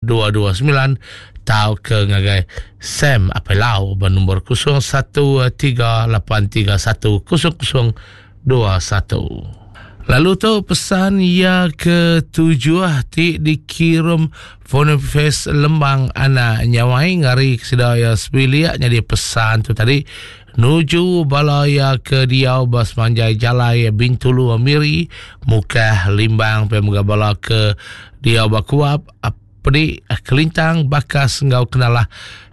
229 tau ke ngagai Sam Apai Lau ba nombor 01 3 8 3 1 0 0 2 1. Lalu tu pesan iya ke tujuh ti dikirum Boniface Lembang anak Nyawai ngari ke sida iya sebilik nyadi pesan tu tadi nuju bala iya ke diau ba semanjai jalai Bintulu Miri Mukah Limbang pia mega bala ke diau ba Kuap Pedi Kelintang Bakas enggau Kenalah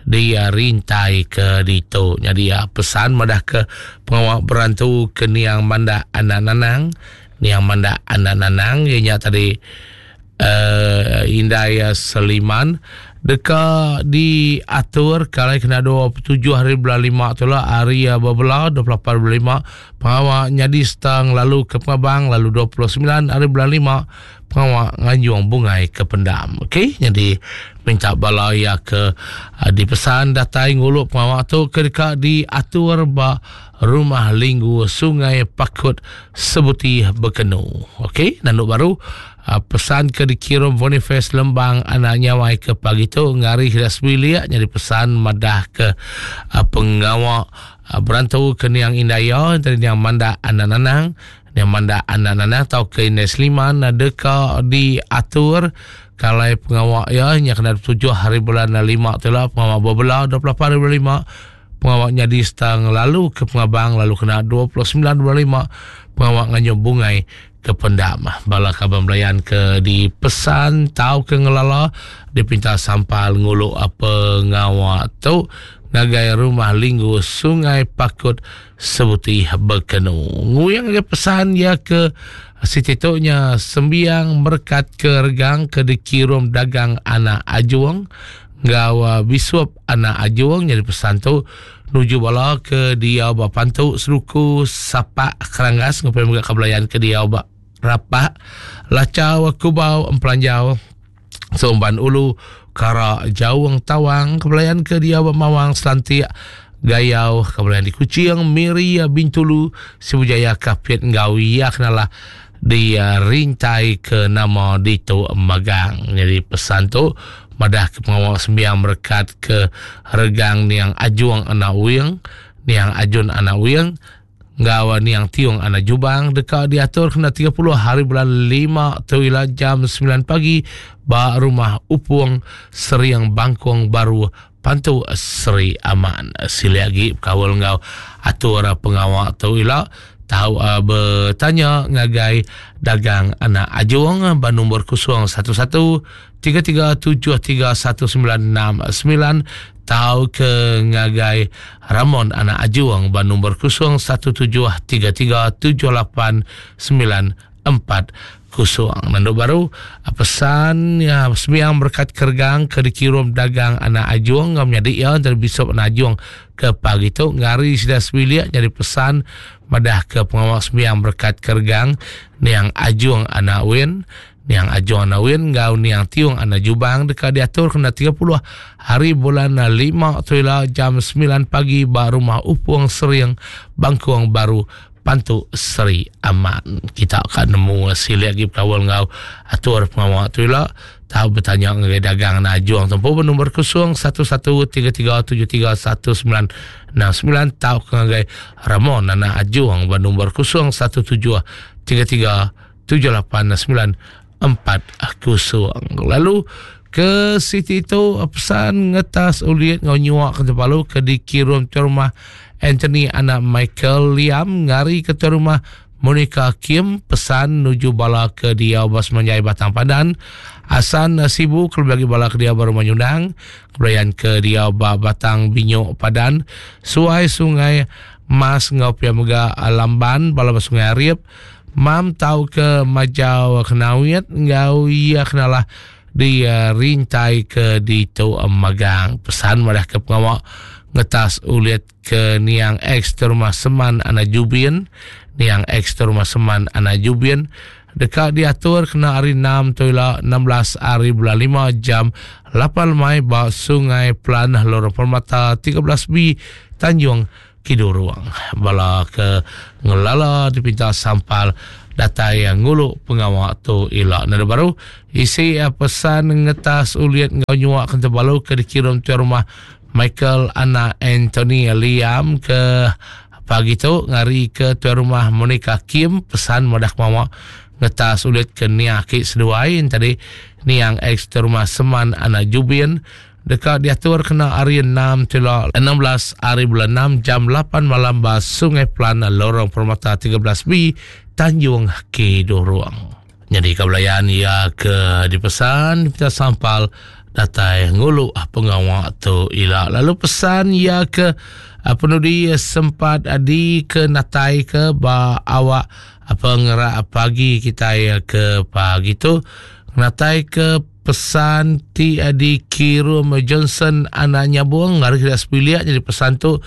di rintai ke ditu. Nyadi pesan madah ke pengawa berantu ke niang mandak anak nanang. Niang mandak anak nanang iya nya tadi uh, indai Seliman deka diatur kalai kena 27 hari bulan 5 tu lah hari bebela 28 hari bulan 5 pengawa nyadi setang lalu ke pengabang lalu 29 hari bulan 5 pengawa nganjung bungai ke pendam. Okey, nyadi minta bala iya ke uh, dipesan datai ngulu pengawa tu ke deka diatur ba Rumah Linggu Sungai Pakut Sebuti Bekenu. Okey, nandu baru uh, pesan ke dikirum Boniface Lembang anak Nyawai ke pagi tu ngari sida sebilik nyadi pesan madah ke uh, pengawa uh, berantu ke niang indai iya entara niang Mandak anak Nanang Nya mandak anak nanah tauka indai Seliman deka diatur kalai pengawa iya nya kena 27 hari bulan 5 tu lah pengawa bebela 28 hari bulan 5 pengawa nyadi serta ngelalu ke pengabang lalu kena 29 bulan 5 pengawa nganyung bungai ke pendam. Bala kaban belayan ke dipesan tauka ngelala dipinta sampal ngulu pengawa tu ngagai rumah Linggu Sungai Pakut Sebuti Bekenu. Nguyang ngagai pesan iya ke siti tu nya sembiang merekat ke regang ke dikirum dagang anak Ajung enggau uh, bisup anak Ajung nyadi pesan tu nuju bala ke diau ba Pantu Seruku Sapak Keranggas ngupai mega ke belayan ke diau ba Rapak Lachau Kubau Empelanjau Serumban Ulu, Kara, Jaung, Tawang, Kebelayan ke diau ba Mawang, Selantik, Gayau, Kebelayan di Kuching, Miri, Bintulu, Sibu Jaya, Kapit enggau iya kenalah di eh, rintai ke nama ditu magang. Jadi pesan tu madah ke pengawa sembiang merekat ke regang niang Ajuang anak Wing, niang Ajun anak Wing, enggau niang Tiong anak Jubang deka diatur kena 30 hari bulan 5 tu ila jam 9 pagi ba Rumah Upung Seriang Bangkong Baru Pantu Seri Aman. Silik agi bekaul enggau atur pengawa tu ila tau uh, betanya ngagai dagang anak Ajung ba nombor 011 33731969 tau ke ngagai Ramon anak Ajuang ba nombor 0173378940. Nandu baru pesan ya sembiang berkat kergang ke dikirum dagang anak Ajuang ngau menyadi iya dari Bishop anak Ajuang ke pagi tu ngari sida sebilik jadi pesan madah ke pengawa sembiang berkat kergang niang Ajuang anak Win Niang Ajong anak Win enggau Niang Tiong anak Jubang deka diatur kena 30 hari bulan 5 tu ila jam 9 pagi ba Rumah Upung Sering, Bangkung Baru, Pantu Seri Aman. Kita ka nemu silik agi bekaul enggau atur pengawa tu ila tau betanya ngagai dagang anak Ajong tu empu ba nombor 0113731969 tauka ngagai Ramon anak Ajong ba nombor 0173 789 kosong. Lalu ke siti tu pesan ngetas ulit ngau nyuak ke Tempalu ke dikirum ke rumah Anthony anak Michael Liam ngari ke rumah Monica Kim pesan nuju bala ke diau ba Semanjai Batang Padan Asan Sibu kelebih agi bala ke diau ba Rumah Nyundang kebelayan ke diau ba Batang Binyok Padan Suai Sungai Mas enggau pia mega Lamban bala ba Sungai Arip Mam tauka majau kenawit enggau iya kenalah di rintai ke ditu magang. Pesan madah ke pengawa ngetas ulit ke niang ex terumah Seman anak Jubin, niang ex terumah Seman anak Jubin deka diatur kena hari 6 tu ila 16 hari bulan 5 jam 8 lemai ba Sungai Pelan Lorong Permata 13B Tanjung Kidurung. Bala ke ngelala dipinta sampal datai ngulu pengawa tu ila. Nada baru isi pesan ngetas ulit enggau nyuak ke tebalu ke dikirum tuai rumah Michael anak Anthony Liam ke pagi tu ngari ke tuai rumah Monica Kim pesan madah pengawa ngetas ulit ke nia aki seduai tadi niang ex tuai rumah Seman anak Jubin deka diatur kena hari 6 tila 16 hari bulan 6 jam 8 malam ba Sungai Plan Lorong Permata 13B Tanjung Kidurong. Nyadi ka belayan iya ke dipesan dipinta sampal datai ngulu pengawa tu ila. Lalu pesan iya ke penudi sempat di ke natai ke ba awak pengerak pagi kitai ke pagi tu natai ke Pesan ti dikirum Johnson anak Nyabong ari sida sebilik nyadi pesan tu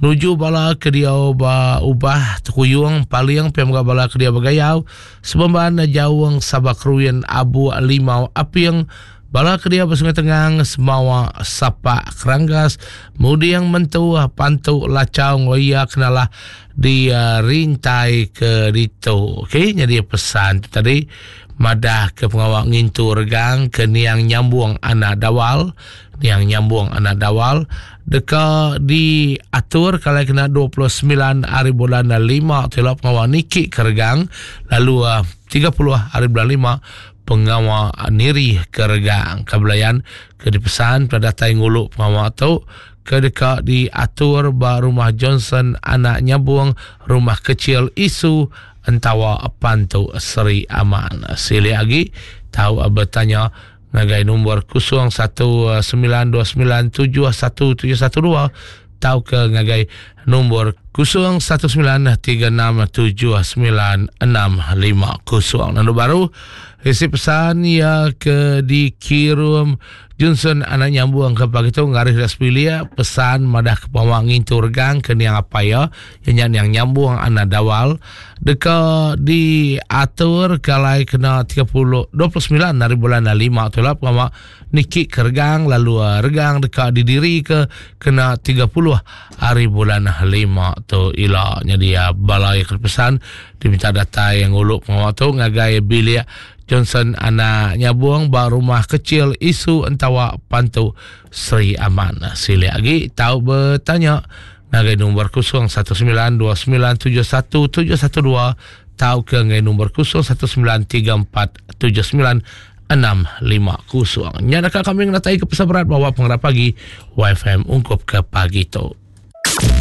nuju bala ke diau ba Ubah Tekuyung Paling pia mega bala ke diau ba Gayau Sebemban Jaung Sabak Keruin Abuk Limau Aping bala ke diau ba Sungai Tengang Semawa Sapak Keranggas Muding Mentu Pantu Lachau enggau iya ke nalah di rintai ke ditu. Okey nyadi pesan tu tadi madah ke pengawa ngintu regang ke niang nyambung anak dawal niang nyambung anak dawal deka diatur kalai kena 29 hari bulan 5 tu ila pengawa niki ke regang lalu 30 hari bulan 5 pengawa niri ke regang ke belayan ke dipesan pada datai ngulu pengawa tu ke deka diatur ba Rumah Johnson Anak Nyabung, Rumah Kecil Isu Entawa Pantu Seri Aman. Silik agi tau betanya ngagai nombor 0192971712 tauka ngagai nombor 0193679650. Lalu baru isi pesan iya ke dikirum Johnson anak nyambung ke pagi tu ngaris dak sebilik pesan madah ke pengawa ngintu regang ke niang apai iya iya nya niang nyambung anak dawal deka diatur ke alai kena 30 29 hari bulan 5 tu lah pengawa niki ke regang lalu eh, regang deka didiri ke kena 30 hari bulan 5 tu ila nyadi eh, bala yang pesan diminta datai yang ngulu pengawa tu ngagai bilik Johnson anak nyabung ba rumah kecil isu entawa Pantu Sri Aman. Silik agi tau betanya ngagai nombor 0192971712 tauka ngagai nombor 0193479650. Nya deka kami ngenatai ke pesan berat bawa pengerap pagi YFM ungkup ke pagi tu.